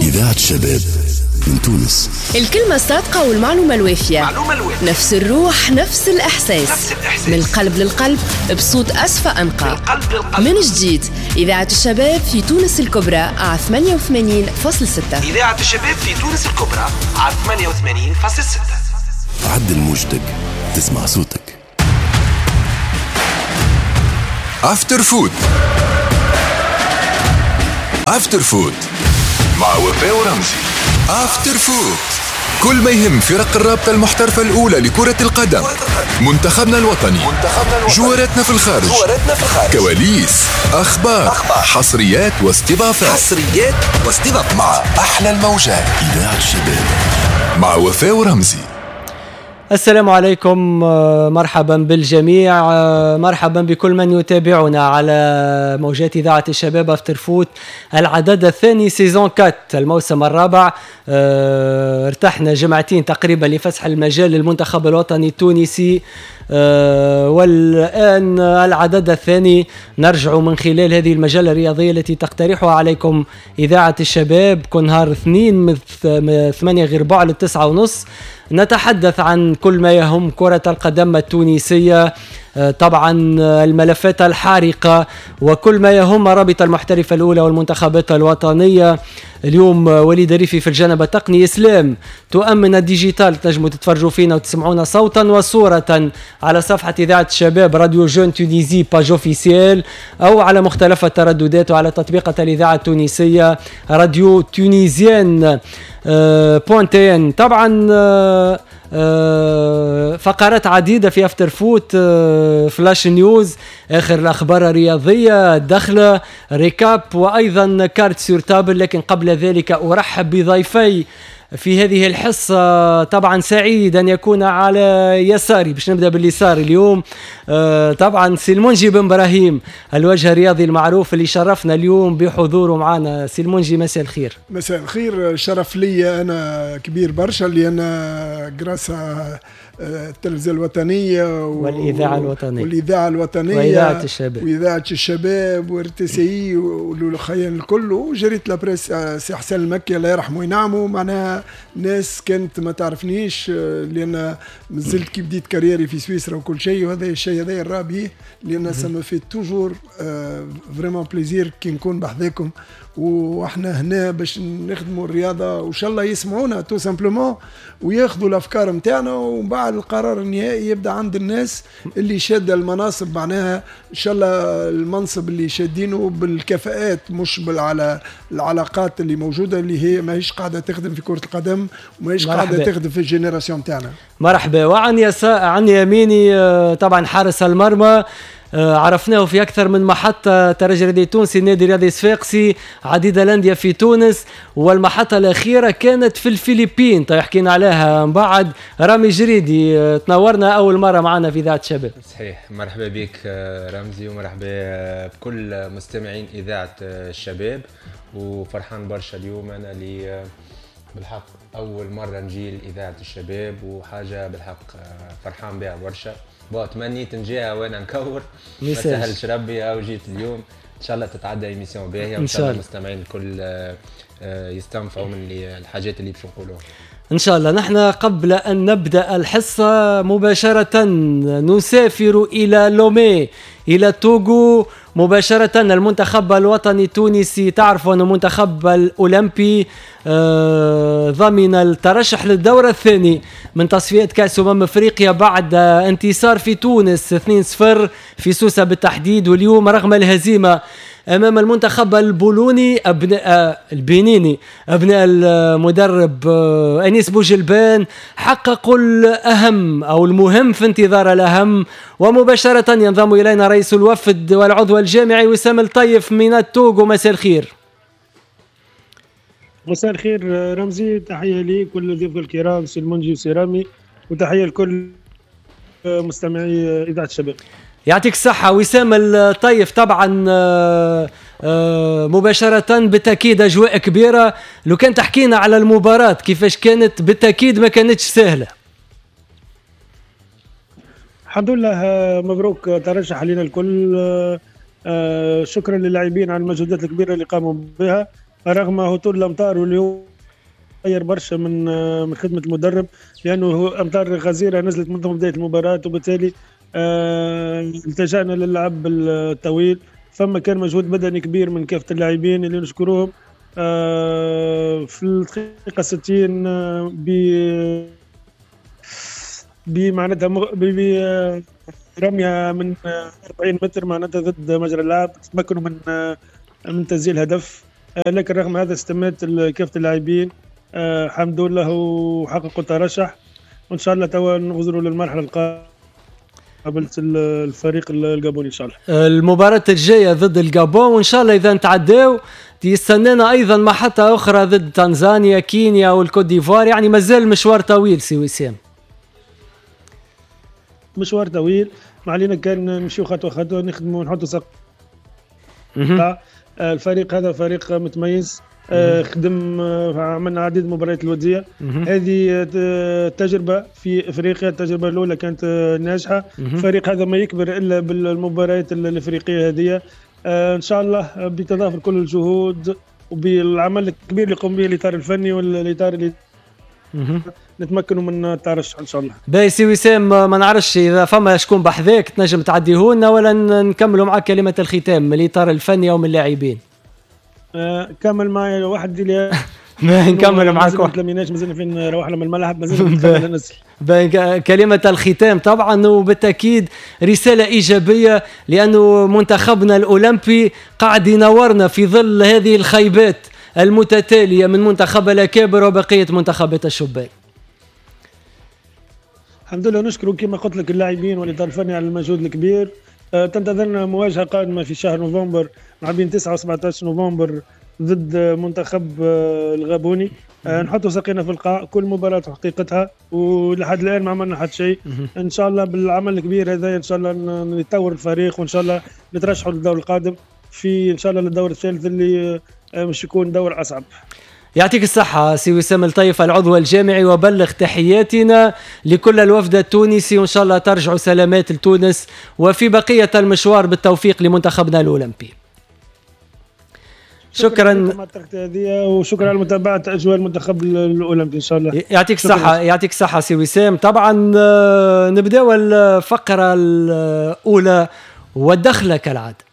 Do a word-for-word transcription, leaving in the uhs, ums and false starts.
إذاعة شباب من تونس. الكلمة الصادقة والمعلومة الوافية، نفس الروح، نفس الإحساس، نفس الإحساس. من القلب للقلب بصوت أسفى أنقى. من جديد إذاعة الشباب في تونس الكبرى على ثمانية وثمانين فاصلة ستة. إذاعة الشباب في تونس الكبرى على ثمانية وثمانين فاصلة ستة. عدل موجتك تسمع صوتك. After Foot. After Foot مع وفاء ورمزي. After Foot، كل ما يهم فرق الرابطة المحترفة الأولى لكرة القدم، منتخبنا الوطني، جواراتنا في الخارج، كواليس، أخبار، أخبار. حصريات واستضافات، حصريات واستضافات مع أحلى الموجات. إذاعة الشباب مع وفاء ورمزي. السلام عليكم، مرحبا بالجميع، مرحبا بكل من يتابعنا على موجات إذاعة الشباب After Foot، العدد الثاني saison quatre، الموسم الرابع. ارتحنا جمعتين تقريبا لفسح المجال للمنتخب الوطني التونسي، والآن العدد الثاني نرجع من خلال هذه المجلة الرياضية التي تقترحها عليكم إذاعة الشباب كل نهار اثنين من ثمانية غير ربع للتسعة ونص. نتحدث عن كل ما يهم كرة القدم التونسية، طبعا الملفات الحارقة وكل ما يهم رابطة المحترفة الأولى والمنتخبات الوطنية. اليوم وليد ريفي في الجانب التقني، إسلام تؤمن ال digital، تنجموا تتفرجوا فينا وتسمعونا صوتا وصورة على صفحة إذاعة الشباب Radio Jeunes Tunisie page officielle، أو على مختلف الترددات وعلى تطبيقة الإذاعة التونسية Radio Tunisienne point tn. طبعا فقرات عديدة في After Foot، flash news، آخر الأخبار الرياضية، دخلة، récap، وأيضا cartes sur table. لكن قبل ذلك أرحب بضيفي في هذه الحصة. طبعا سعيد أن يكون على يساري، باش نبدأ باليسار اليوم، طبعا سي المنجي بن إبراهيم، الوجه الرياضي المعروف اللي شرفنا اليوم بحضوره معنا. سي المنجي مساء الخير. مساء الخير، شرف لي أنا كبير برشا لأن grâce à التلفزة الوطنية والإذاعة الوطنية والإذاعة الوطنية وإذاعة الشباب وإذاعة الشباب و RTCI والخيان الكل وجريدة La Presse سي حسن المكي الله يرحمه وينعمه. معناها ناس كانت ما تعرفنيش لأن مازلت كي بديت carrière ي في سويسرا وكل شيء، وهذا الشيء هذا الرابي لأن ça me fait toujours vraiment plaisir كي نكون بحذاكم، واحنا هنا باش نخدموا الرياضة وان شاء الله يسمعونا tout simplement وياخذوا الافكار نتاعنا، ومن بعد القرار النهائي يبدا عند الناس اللي شاده المناصب. معناها ان شاء الله المنصب اللي شادينه بالكفاءات مش على العلاقات اللي موجودة اللي هي ماهيش قاعدة تخدم في كره القدم وماهيش قاعدة تخدم في ال génération تاعنا. مرحبا. وعن يسا عن يميني طبعا حارس المرمى، عرفناه في أكثر من محطة، ترجي الرياضي التونسي، النادي الرياضي الصفاقسي، عديد الأندية في تونس، والمحطة الأخيرة كانت في الفلبين، طيب حكينا عليها من بعد. رامي جريدي تنورنا أول مرة معنا في إذاعة الشباب. صحيح، مرحبا بك رمزي ومرحبا بكل مستمعين إذاعة الشباب، وفرحان برشا اليوم أنا اللي بالحق أول مرة نجي لإذاعة الشباب، وحاجة بالحق فرحان بها برشا. bon تمنيت نجيها وانا نكور، ما سهلش ربي او جيت اليوم. ان شاء الله تتعدى émission باهيه، وان شاء الله المستمعين الكل يستنفعوا من الحاجات اللي باش نقولوها ان شاء الله. نحن قبل ان نبدا الحصة مباشرة نسافر الى لومي، الى توغو مباشرة. المنتخب الوطني التونسي، تعرفوا أن المنتخب الأولمبي ضمن الترشح للدور الثاني من تصفيات كأس أمم أفريقيا بعد انتصار في تونس اثنين صفر في سوسة بالتحديد. واليوم رغم الهزيمة أمام المنتخب البولوني أبناء البنيني أبناء المدرب أنيس بوجلبان حققوا الأهم أو المهم في انتظار الأهم. ومباشرة ينضم إلينا رئيس الوفد والعضو الجامعي وسام الطيف من التوغو. مساء الخير. مساء الخير رمزي، تحية ليك ولضيوفك الكرام سي المنجي وسي رامي، وتحية لكل مستمعي إذاعة الشباب. يعطيك الصحة وسام الطيف. طبعا مباشرة بالتأكيد أجواء كبيرة، لو كان تحكينا على المباراة كيفاش كانت، بالتأكيد ما كانتش سهلة. الحمد لله، مبروك ترشح لنا الكل. شكرا للاعبين على المجهودات الكبيرة اللي قاموا بها. رغم هطول الامطار واللي غير برشا من من خدمة المدرب، لانه امطار غزيرة نزلت منذ بداية المباراة، وبالتالي التجأنا للعب الطويل. فما كان مجهود بدني كبير من كافة اللاعبين اللي نشكروهم. في الدقيقة ستين ب بمعناتها برميه من أربعين متر معناتها ضد مجرى اللعب تمكنوا من من تسجيل هدف، لكن رغم هذا استمات كافة اللاعبين الحمد لله وحققوا الترشح، وان شاء الله توا نغزروا للمرحلة القادمة قابلت الفريق الجابوني ان شاء الله. المباراة الجاية ضد الجابون، وان شاء الله اذا نتعداو يستنانا ايضا محطة اخرى ضد تنزانيا، كينيا والكوت ديفوار، يعني مازال مشوار طويل سي وسام. مشوار طويل، ما علينا كان نمشيو خطوة خطوة، نخدموا ونحطوا سق. الفريق هذا فريق متميز، خدم، عملنا عديد المباريات الودية. هذه تجربه في افريقيا، التجربة الاولى كانت ناجحة. الفريق هذا ما يكبر الا بالمباريات الافريقية هذه. ان شاء الله بتضافر كل الجهود وبالعمل الكبير اللي يقوم به الاطار الفني والاطار اللي نتمكنوا من الترشح ان شاء الله. باهي سي وسام، ما نعرفش اذا فما شكون بحذاك تنجم تعديهولنا ولا نكملوا معك كلمة الختام من الاطار الفني او من اللاعبين. آه كمل معي واحد اللي نكمل معاك واحد. ما تلميناش، مازلنا فين روحنا من الملعب، مازلنا ننزل. كلمة الختام طبعا، وبالتأكيد رسالة إيجابية، لأنه منتخبنا الأولمبي قاعد ينورنا في ظل هذه الخيبات المتتالية من منتخب الأكابر وبقية منتخبات الشبان. الحمد لله، نشكر كما قلت لك اللاعبين والإطار الفني على المجهود الكبير. تنتظرنا مواجهة قادمة في شهر نوفمبر مع بين تسعة وسبعة عشر نوفمبر ضد منتخب الغابوني. نحطوا ساقينا في القاع، كل مباراة حقيقتها، ولحد الآن ما عملنا حتى شيء. إن شاء الله بالعمل الكبير هذا إن شاء الله نطور الفريق، وإن شاء الله نترشحوا للدور القادم، في إن شاء الله للدور الثالث اللي مش يكون دور أصعب. يعطيك الصحة سي وسام الطيف العضو الجامعي، وبلغ تحياتنا لكل الوفد التونسي، وإن شاء الله ترجعوا سلامات لتونس وفي بقية المشوار بالتوفيق لمنتخبنا الأولمبي. شكرا شكرا وشكرا على متابعة أجواء المنتخب الأولمبي إن شاء الله. يعطيك الصحة، يعطيك الصحة سي وسام. طبعا نبداو الفقرة الأولى والدخلة كالعادة.